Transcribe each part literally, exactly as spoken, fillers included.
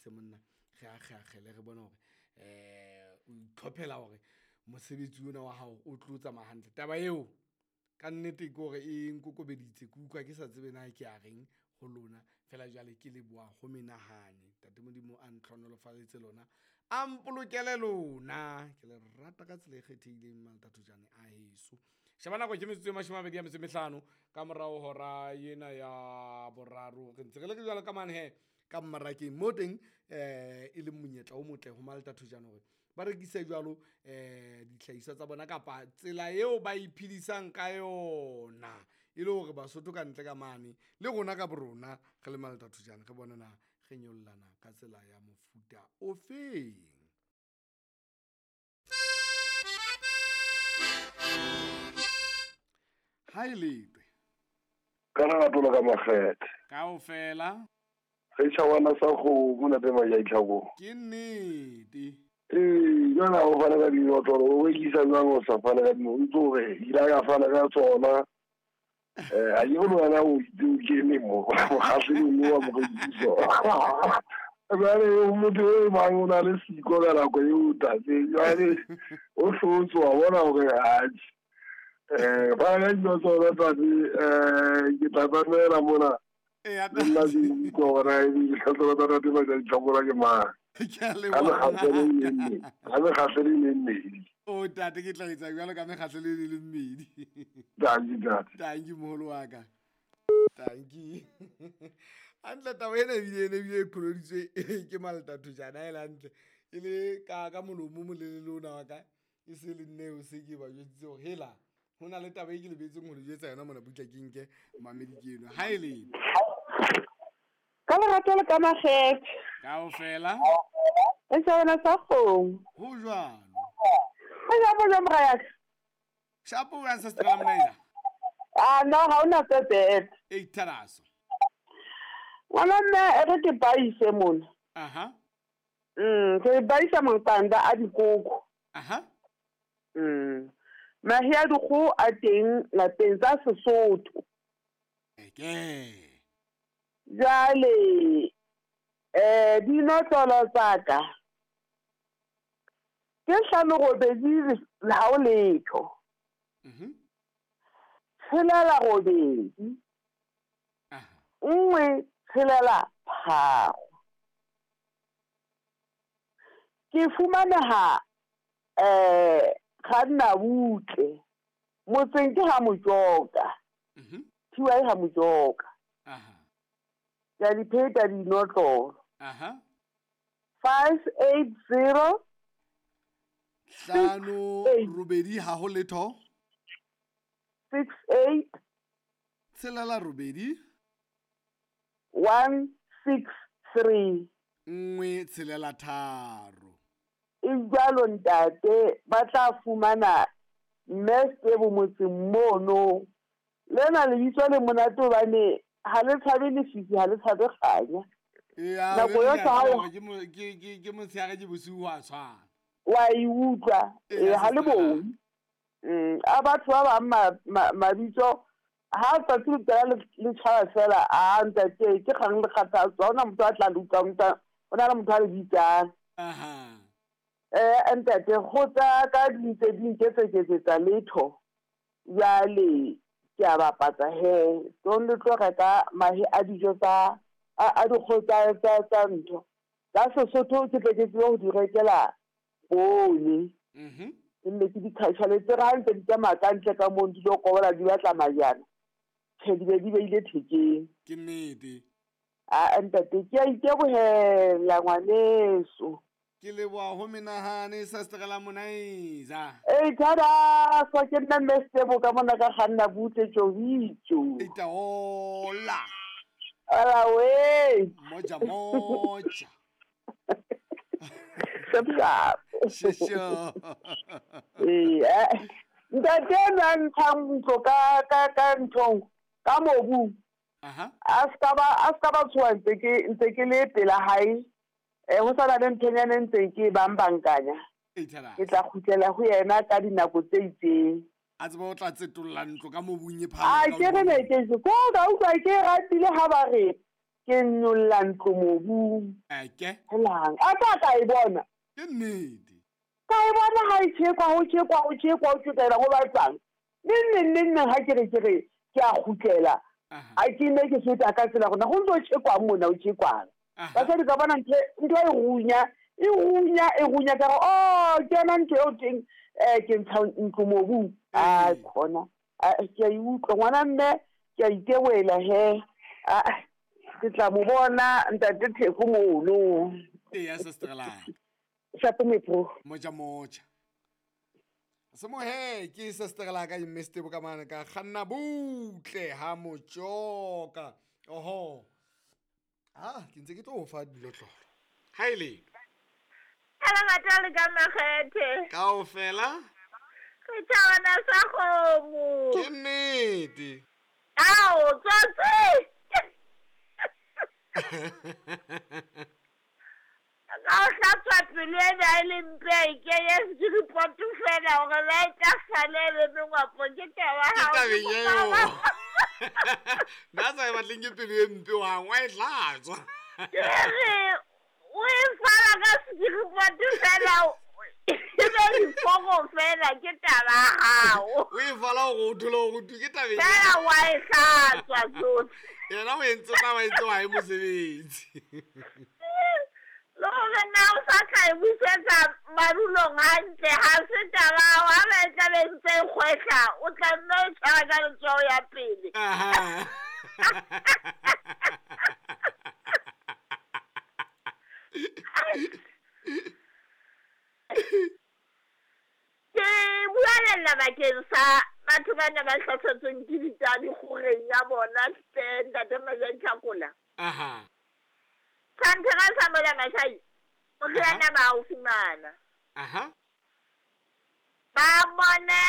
tlise monna re akgeakgele re bone hore um o itlhophela hore mosebetsi ona wa hao o tlo tsamaya hantle. Taba eo ka nnete ke hore e nkokobeditse, ke utlwa ke sa tsebe na ke a reng ho lona. Fela jwale ke leboha ho menahane. Ntate Modimo a ntlhonolofaletse lona, a mpolokele lona. Ke le rata ka tsela e kgethehileng Maltathojane a heso. Sheba nako ke metsotso e mashome a mabedi a metso e mehlano ka morao hora ena ya boraro. Re ntse re le jwalo ka mane he ka mmarakeng mo teng eh e leng monyetla o motle ho Maltathojane hore ba rekise jwalo eh dihlahiswa tsa bona kapa tsela eo ba iphedisang ka yona, e le hore Basotho ka ntle ka mane le rona ka borona re le Maltathojane re bone na re nyollana ka tsela ya mofuta o feng. Ha e letwe ka lerato la ka makgethe kaofela re tjhawana sa kgomo ntate Majatlhako. Ke nnete. Ee, jwale ha o fana ka dinotlolo o rekisa jwang o sa fana ka dinotlolo, o ntso re ile ka fana ka tsona. Eh, ha ke bone wena o itse o kene mo mokgahlelong mo wa morekiso. Jwale motho e mang o na le siko ka nako eo tate, jwale o hlotse wa bona hore atjhe. Eh, fana ka dinotlolo tate, eh ke tla tsamela mona. Ee, Le nna ke utlwa hore na ebe dinotlolo tsa ntate Majatlhako ke mang. Ke a Ka leboha. mekgahlelo e menne, ka mekgahlelo e mmedi. O tate ke tla etsa jwalo ka mekgahlelo e le mmedi. Tanki tate. Tanki moholo wa ka. Tanki. Hantle taba ena ebile ene ebile e pholoditswe ke Maltathojane ha e le hantle. E le ka ka molomo o molelele ona wa ka e se le nne o se ke ba jwetsitse hore hela ho na le taba e ke lebetseng ho le jwetsa yona mona butla ke nke mamedi ke eno. Ha e le ka lerato le ka makgethe kaofela e tjhawana sa kgomo. Ho jwalo. Ho jwalo jwang mora ya ka? Shapo wa ancestral manager. Ah no, ha hona tse bad. E tharaso. Ngwana mme e re ke baise mona. Aha. Mm, ke baisa maqanda a dikoko. Aha. Mm. Mahe a dikgoho a teng lapeng tsa Sesotho. Eke. Jwale eh dinotlolo tsa ka ke hlano robedi ha o letho. Mhm. Tshelela robedi. Aha. Nngwe tshelela tharo. Ke fumaneha eh Kganna butle motseng ke ha Mojoka. Mhm. Thiwa e ha Mojoka. Aha. Ke a di pheta dinotlolo. Aha. five eight zero Hlano eight. robedi ha ho letho. six eight Tshelela robedi. one six three. Nngwe tshelela tharo. E jwalo ntate ba tla fumana mme Stebo motseng mono. Lena lebitso le monate hobane ha le tshabe lefifi, ha le tshabe kganya. Ee, Nako re yohle ha o- hore ke mo- ke ke ke motshehare ke bosiu ho a tshwana. Wa e utlwa. Ee, Ee, ha le sister. bone. Mm, a batho ba bang ma- ma- mabitso ha tsatsi le qala le le tjhaba fela, a ntate ke kgang le kgathatso. Ha hona motho a tla le utlwang, motho- ho na le motho a le bitsang. Aha. Eh, ntate go tsa ka di ntse di nketseketsetsa letho. Jwale ke a bapatsa he, tong le tlo reka mahe a dijo tsa a a dikgoho tsa tsa tsa ntho. Tsa Sesotho ke tle ke tsebe ho di rekela poone. Mhm. Ke nne ke di khatjhaletse re ha ntse di tsamaya ka ntle ka mono di lo kobola di batla majana. Tjhe, di be di beile thekeng. Ke nnete. Ah, ntate ke a itebohela ngwaneso. Ke leboha ho menahane sister Monaiza. Ei thada, so ke nna mme Stebo ka mona ka kganna butle tjobitjo. Itaola. Ala we. Moja moja. Shap shap. Shesho. Ee, eh, ntate na ntshang ntlo ka ka ka nthong ka mobu. Aha. A ska ba a ska ba tshoha ntse ke ntse ke le pela hae. Eh ho sa na le nthonyana e ntseng ke e bang bankanya. Ithara. Ke tla kgutlela ho yena ka dinako tse itseng. A tseba o tla tsetolla ntlo ka mobung e A phahameng ke re ne ke se ko ka utlwa ke ratile ha ba re Ke nyolla ntlo mobung. Eke. Helang. A tla ka e bona. Ke nnete. Ka e bona ha e tjhekwa, ho tjhekwa, ho tjhekwa, ho tjhekwa, ho batsang. Neng neng neng neng ha ke re ke re ke a kgutlela. A ke ne ke feta ka tsela gona go ntse o tjhekwang mona o tjhekwang. Basadi ka bona ntho ntho e runya, e runya, e runya ka re oh ke yona ntho eo teng eh ke ntsha ntlo mobung. A khona. A ke a e utlwa ngwana mme ke a itewela he. A ke tla mo bona ntate Theko mono. Eya sister la. Shapo metro. Moja moja. Semohe ke sister la ka Mister Bokamane ka kganna butle ha motjoka. Oho. Ah, ke ntse ke tlo fa dilotlolo. Ha ile. Ela matale ka makgethe. Kaofela. Re tjhabana sa kgomo. Ke nnete. Ao, tsotsi. Ka o hlatswa pelo ena e le mpe e kenye ke fela hore la e tla sale le mengwapo ke taba Ke hao. tabeng eo. Nna sa e batleng ke pelo e mpe wa wa e tlatswa. Ke re o e fala ka sekiripote fela e be diforo fela ke taba ya hao. O e fala hore o thole hore o tu ke tabeng. Fela wa e hlatswa tsohle. Yena o entse taba e ntse wa e mosebetsi. Le hore na o sa tla e busetsa madulong hantle ha se taba ya hao, ha ba e tla be ntse e kgwehla o tla nna o tshwara ka letsoho ya pele. Aha. Ke bualela bakeng sa batho bana ba hlasetsweng ke ditadi kgoreng ya bona hle ntate Majang Tlhakola. Aha. Santhera sa mola mashai moriana ba o fumana. Aha. Ba bone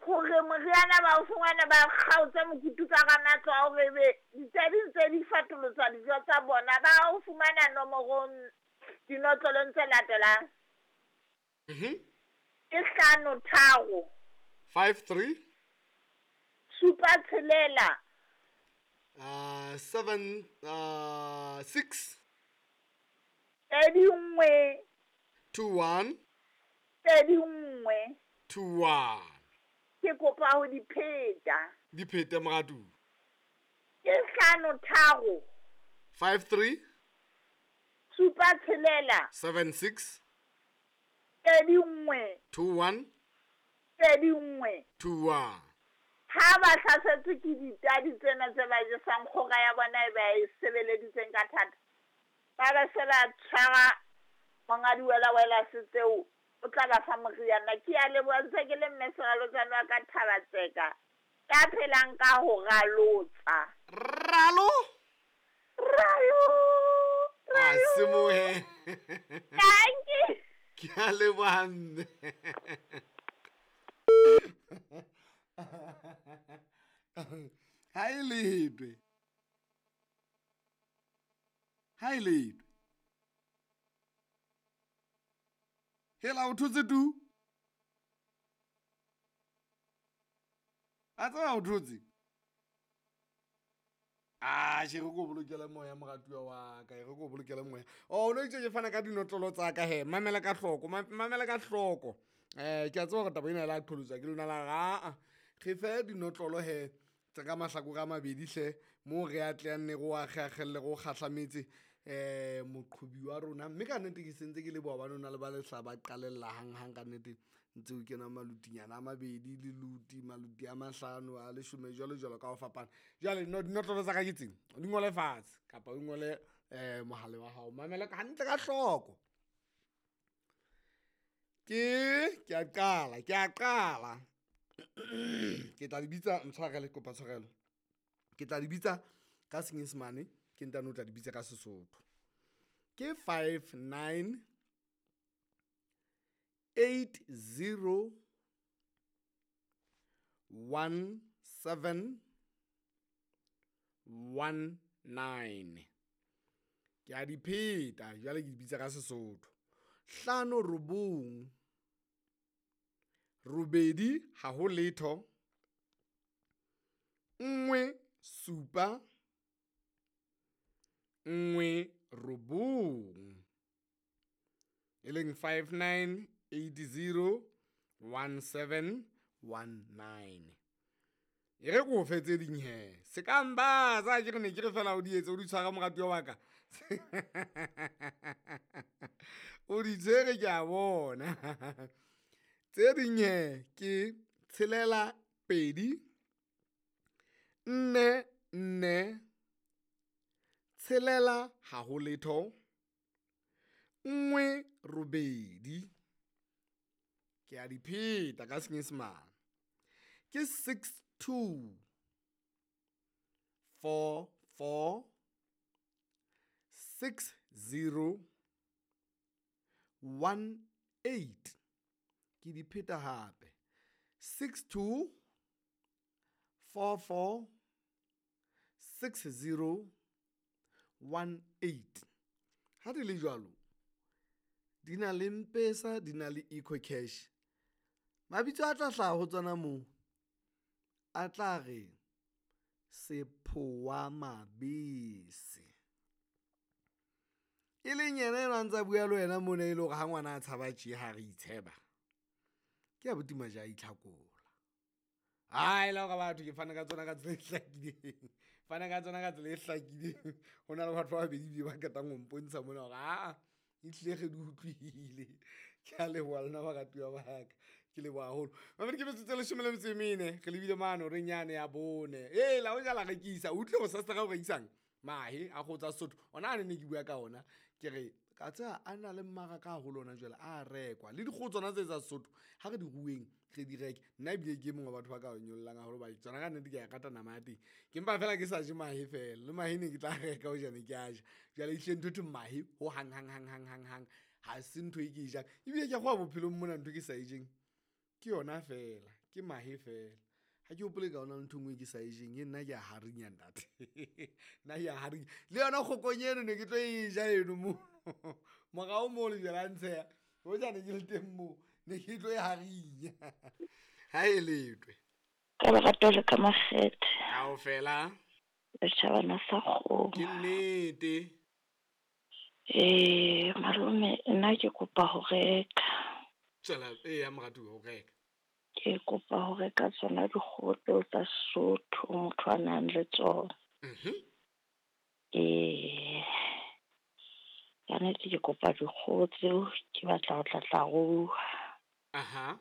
hore moriana ba o fumana ba kgaotse mokutu ka hara matlo a hore ebe ditadi ntse di fatolotswa dijo tsa bona ba o fumana nomorong dinotlolong tse latelang. Mhm. Ke hlano tharo. Five three. Supa tshelela. Uh, seven uh, six. Pedi nngwe. Two one. Pedi nngwe. Two one. Ke kopa ho di pheta. Di phete moratu. Ke hlano tharo. Five three. Supa tshelela. Seven six. Pedi nngwe. Two one. Pedi nngwe. Two one. Ha ba hlasetswe ke ditadi tsena tse ba jesang kgora ya bona e ba e sebeleditseng ka thata. Ba ba se ba tshwara monga diwelawela se tseo o tla ba fa moriana. Ke a leboha ntse ke le mme Seralotsane wa ka Thabatseka ya phelang ka ho ralotsa. Ralo? Ralo. A semohe. Thank you. Ke a leboha mme. Ha e letwe. Ha e letwe. Hela o thotse tu? A tseba o thotse? Ah, she re ko bolokele moya moratuwa wa ka, re ko bolokele moya. Oh, no itse ke fana ka dinotlolo tsa ka he, mamela ka hloko, mamela ka hloko. Eh, ke a tseba hore taba ena la qholotsa ke lona la ra. Re fe dinotlolo he tsa ka mahlakore a mabedi hle mo re atleang ne go akgeakgelle go kgahlametse eh moqhobi wa rona. Mme ka nnete ke sentse ke leboha ba nona le ba lehla ba qalella hanghang ka nnete ntse o kena malutinyana a mabedi le luti maluti a mahlano a leshome jwalo jwalo ka ho fapana. Jwale dinotlolo tsa ka ke tseng di ngole fatshe kapa o ngole eh mohale wa hao, mamela hantle ka hloko. Ke ke a qala ke a qala ke tla di bitsa ntshwarele kopa tshwarelo. Ke tla di bitsa ka Senyesemane ke ntano tla di bitsa ka Sesotho. Ke five nine eight zero one seven one nine. Ke a di pheta jwale ke di bitsa ka Sesotho. Hlano robong robedi ha ho letho nngwe supa nngwe robong, e leng five nine eight zero one seven one nine. E re ko fe tse ding he, se ka mba tsa ke re ne ke re fela o di etse o di tshwara moratuwa wa ka. O di tshwere ke a bona. Tse ding he ke tshelela pedi nne nne tshelela ha ho letho nngwe robedi. Ke a di pheta ka Senyesemane, ke six two four four six zero one eight. Ke di pheta hape, six two four four six zero one eight. Ha di le jwalo, di na le M-Pesa, di na le EcoCash. Mabitso a tla hlaha ho tsona moo a tla re Sephowa Mabese, e leng yena enwa a ntsa bua le wena mona, e le hore ha ngwana a tshaba tje ha re itsheba, ke abuti Maja a itlhakola. Ai la hore batho ke fana ka tsona ka tsela e hlakileng, fana ka tsona ka tsela e hlakileng. Ho na le batho ba babedi ebile ba qetang ho mpontsha mona hore aa e tlile re di utlwile. Ke a leboha lona baratuwa ba ka, ke leboha haholo. Mamedi ke metsotso e leshome le metso e mene, re lebile mane horeng yane ya bone. Ee, la hoja la rekisa, o utlwile hore sastra o rekisang mahe a kgoho tsa Sesotho. Ona a ne ne ke bua ka ona, ke re ka tseba a na le mmaraka haholo ona jwale, a rekwa. Le dikgoho tsona tse tsa Sesotho ha re di rueng re di reke. Nna ebile ke e mong wa batho ba ka nyollang haholo hobane tsona ka nnete ke a e rata nama ya teng. Ke mpa fela ke sa je mahe fela, le mahe ne ke tla reka hojane ke a ja. Jwale ehlile ntho e thweng mahe ho hang hang hang hang hang hang ha se ntho e ke e jang. Ebile ke a kgowa bophelong mona ntho e ke sa e jeng ke yona fela, ke mahe fela. Ha ke hopole ka ona ntho e nngwe ke sa e jeng, e nna ke a harinya ntate. Nna ke a harinya. Le yona kgokong eno ne ke tlo e ja eno mono. Morao moo le jwale a ntsheha, hojane ke le teng moo ne ke tlo e harinya. Ha e letwe. Ka lerato le ka makgethe. Kaofela. Setjhabana sa kgomo. Ke nnete. Eh, malome, nna ke kopa ho reka. Tswela, eya moratuwa, ho reka. Ke kopa ho reka tsona dikgoho tseo tsa Sesotho motho a nang le tsona. Mhm. Eh, ka nnete ke kopa dikgoho tseo, ke batla ho tla tla rua. Aha.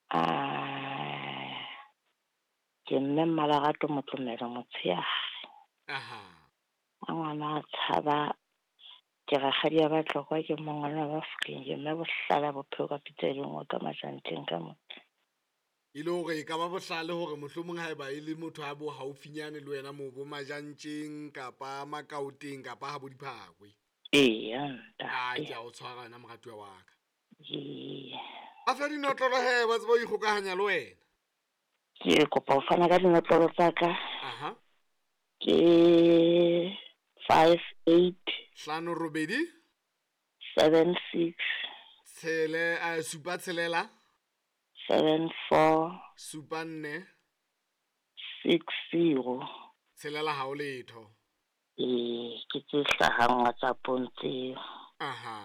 Ah, ke mme Mmalerato Motlomelo Motsheare. Aha. Ha ngwana a tshaba, ke rakgadi ya Batlokwa, ke mongwana wa Bafokeng, ke mme Bohlala bophelo ka pitsa e le nngwe ka Majanteng ka mona. E le hore e ka ba bohlale hore mohlomong haeba e le motho a bo haufinyane le wena moo bo Majantjeng kapa Makaoteng kapa ha bo Diphakwe. Eya, Ah, ntate. ke a o tshwara wena moratuwa wa ka. Ee. A fe dinotlolo he, ba tseba ho ikgokahanya le wena. Ke kopa ho fana ka dinotlolo tsa ka. Aha. Ke five eight Hlano robedi seven six tshele, eh, supa tshelela seven four supa nne six zero. Tshelela ha o letho. Ee, ke tse hlahang WhatsApp-ong tseo. Aha.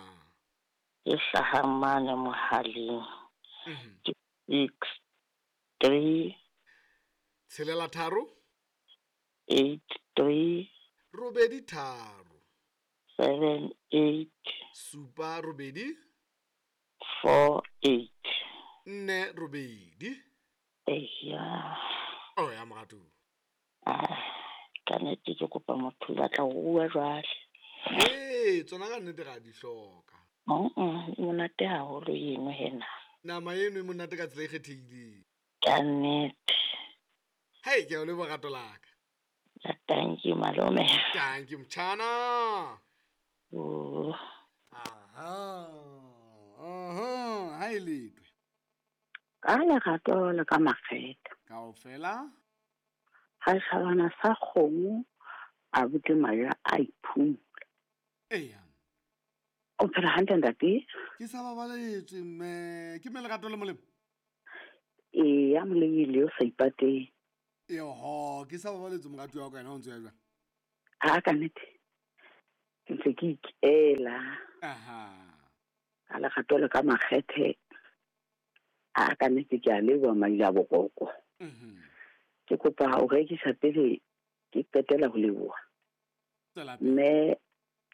Tse hlahang mane mohaleng. Mhm. Ke six three Tshelela tharo eight three robedi tharo seven eight supa robedi four eight. nne robedi. Eya. Oh ya moratuwa. Ah, ka nnete ke kopa motho o batla ho rua jwale. Ee, tsona ka nnete ra di hloka. Mm-mm, e monate haholo eno hena. Nama eno e monate ka tsela e kgethehileng. Ka nnete. Hei, ke a o leboha rato la ka. Thank you malome. Thank you mtshana. Oh. Aha. Aha, ha e letwe. Ka lerato le ka makgethe. Kaofela. Ha tjhabana sa kgomo a bute maja a iphumula. Eya. O phela hantle ntate? Ke sa babaletswe mme, ke mme lerato le molemo. Eya, molebile o sa ipateng. Eho, ke sa babaletswe moratuwa wa ka yena o ntse o ya jwang? A ka nnete ke ntse ke ikela. Aha. Ka lerato le ka makgethe. A ka nnete ke a leboha Maila Boroko. Mhm. Ke kopa ho rekisa pele ke qetela ho leboha. Tswela pele. Mme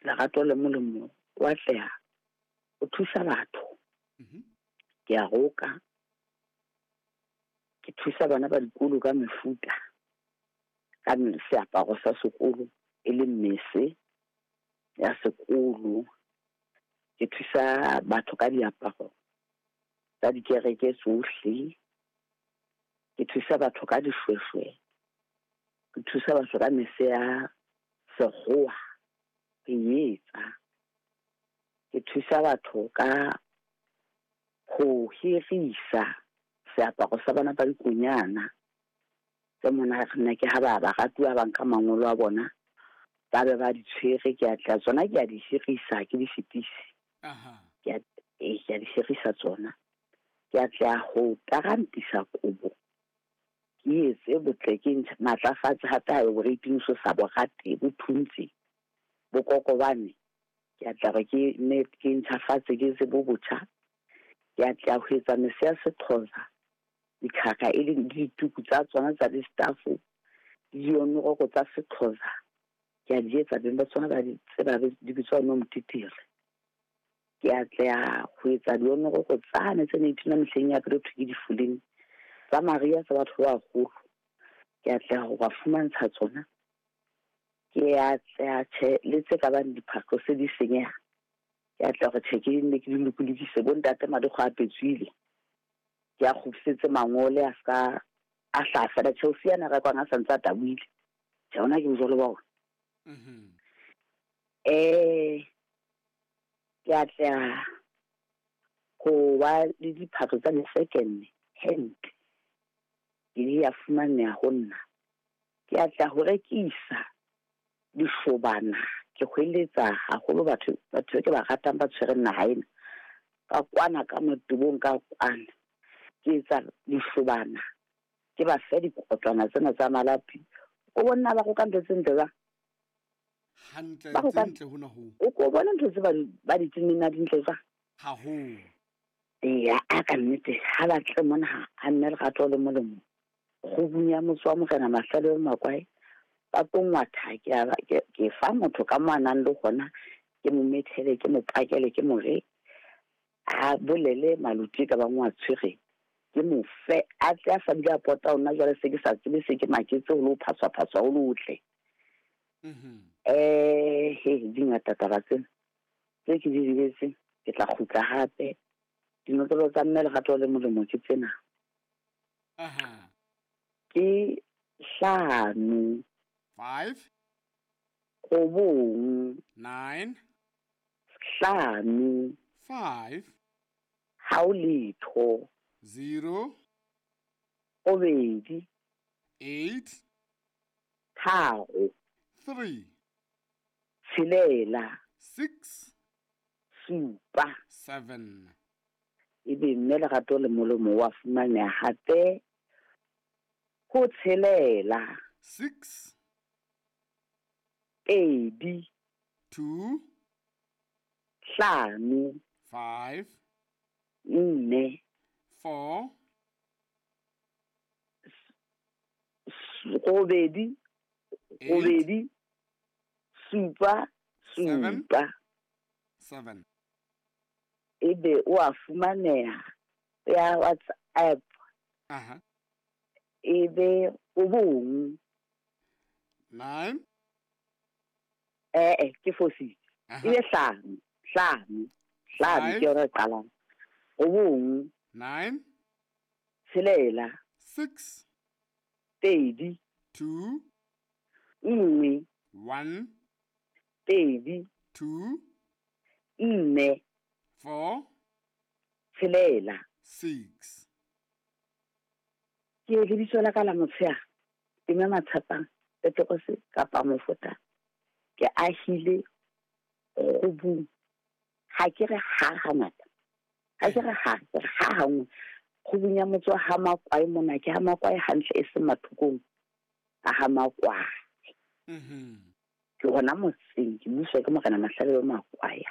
lerato le molemo wa tleha o thusa batho. Mhm. Ke a roka. Ke thusa bana ba dikolo ka mefuta. Ka seaparo sa sekolo e leng mese ya sekolo. Ke thusa batho ka diaparo tsa dikereke tsohle. Ke thusa batho ka dishweshwe. Ke thusa batho ka mese ya sekgowa. Ke etsa. Ke thusa batho ka ho hirisa seaparo sa bana ba dikonyana. Tse mona re nna ke ha ba ba ratuwa ba nka mangolo a bona, ba be ba di tshwere, ke a tla tsona ke a di hirisa, ke di fetise. Aha. Ke a, eh, ke a di hirisa tsona. Ke a tla ho tarantisa kobo. Ke etse botle, ke ntshe matlafatse hape ha e boreiting so sa bo rate, bo thuntse, bo kokobane. Ke a tla re ke ne ke ntjhafatse, ke etse bo botjha. Ke a tla ho etsa mese ya Sexhosa, dikhaka e leng dituku tsa tsona tsa di-staff, le dionoroko tsa Sexhosa. Ke a di etsa, beng ba tsona ba di tseba, di bitswa nomtitere. Ke a tla ho etsa dionoroko tsane tse ne di mehleng ya pele ho thwe ke difoleng tsa Maria tsa batho ba baholo. Ke a tla ho ba fumantsha tsona. Ke a tla tjhe le tse ka bang diphahlo se di senyeha. Ke a tla hore tjhe ke nne ke di lokolokise, bo ntate madikgwa a petswile. Ke a kgutlisetse mangole a ska a hlaha fela. Chelsea yana rekwang a sa ntse a tabohile. Tjhe, hona ke bojwalo ba ona. Mhm. Eh, ke a tla ho ba le diphahlo tsa di-second hand. Ke di a fumaneha ho nna. Ke a tla ho rekisa dishobana. Ke hweletsa haholo batho, batho ke ba ratang ba tshwereng naha ena. Ka kwana ka motebong ka kwana. Ke etsa dishobana. Ke ba fe dikotlwana tsena tsa malapi. O bona ba roka ntho tse ntle jwang? Hantle, Ba tse roka ntle hona hoo. O ko bona ntho tse ba di, ba di tenneng na di ntle jwang? Haholo. Eya, a ka nnete, ha ba tle mona ha, ha mme lerato le molemo. Kgubung ya motse wa Morena Mahlale le Makwae, ba tlo ngwatha, ke a ba, ke, ke fa motho ka mo a nang le hona, ke mo methele, ke mo pakele, ke mo re, a bolele maluti ka bang wa tshwere, ke mo fe, a tle a sa bile a pota hona jwale se ke sa tsebe se ke maketse ho le ho phaswa-phaswa ho le hotle. Mhm. Eh, he, di ngata taba tsena. Tse ke di lebetseng, ke tla kgutla hape. Dinotlolo tsa mme lerato le molemo ke tsena. Aha. Ke hlano. Five. Robong. Nine. Hlano. Five. Ha o letho. Zero. Robedi. Eight. Tharo. Three. Tshelela. Six. Supa. Seven. Ebe mme lerato le molemo wa fumaneha hape ho tshelela. Six. Pedi. Two. Hlano. Five. Nne. Four. Robedi. Eight. Robedi. Supa. Seven. Supa. Seven. Ebe o a fumaneha ya WhatsApp. Aha. Ebe o bong. Nine. Eh, eh, ke fositse. Aha. Ebe hlano, hlano, hlano Five. ke yona e qalang. O bong. Nine. Tshelela. Six. Pedi. Two. Nngwe. One. Pedi. Two. Nne. Four. Tshelela. Six. Ke lebitso la ka la motshehare, ke mme Matshepang, Petrose kapa Mofota. Ke ahile kgubung. Ha ke re ha hangata. Ha ke re ha, ke re ha hangwe. Kgubung ya motse wa ha Makwae mona, ke ha Makwae hantle e seng mathokong a ha Makwae. Mhm. Ke hona motseng, ke buswa ke Morena Mahlabelo Makwae.